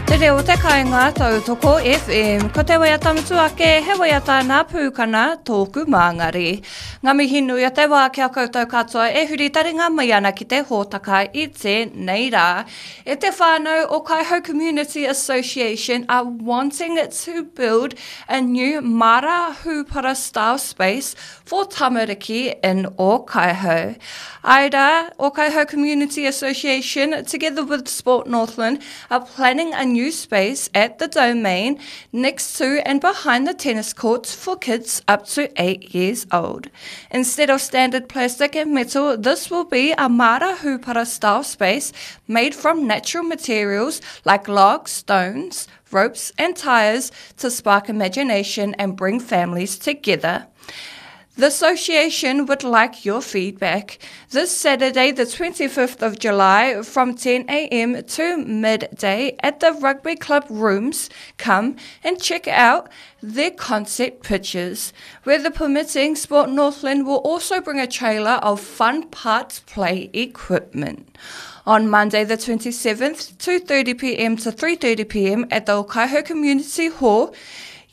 Te reo o te kainga, Tautoko FM. Ko te waiata mutu ake, he waiata nā Pūkana, tōku māngari. Ngā mihi nui o te wā ki a koutou katoa e huri taringa mai ana ki te hōtaka i tēnei rā. E te whānau o Kaihau Community Association are wanting to build a new Mara Hūpara style space for tamariki in Ōkaihau. Aira, Ōkaihau Community Association, together with Sport Northland, are planning a new space at the domain next to and behind the tennis courts for kids up to 8 years old. Instead of standard plastic and metal, this will be a Mara Hupara style space made from natural materials like logs, stones, ropes, and tires to spark imagination and bring families together. The association would like your feedback. This Saturday, the 25th of July, from 10 a.m. to midday at the Rugby Club rooms, come and check out their concept pictures. Weather permitting, Sport Northland will also bring a trailer of fun parts play equipment. On Monday the 27th, 2.30pm to 3.30pm at the Okaihau Community Hall,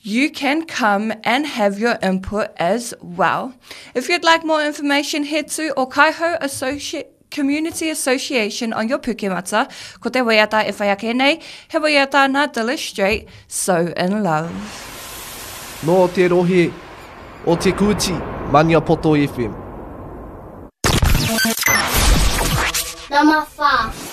you can come and have your input as well. If you'd like more information, head to Okaihau Associate Community Association on your Pukemata. Ko te waiata e whai ake nei, he waiata nā Dilys Strait, So In Love. Nō te rohe o Te Kooti, Maniapoto FM. Nama wha.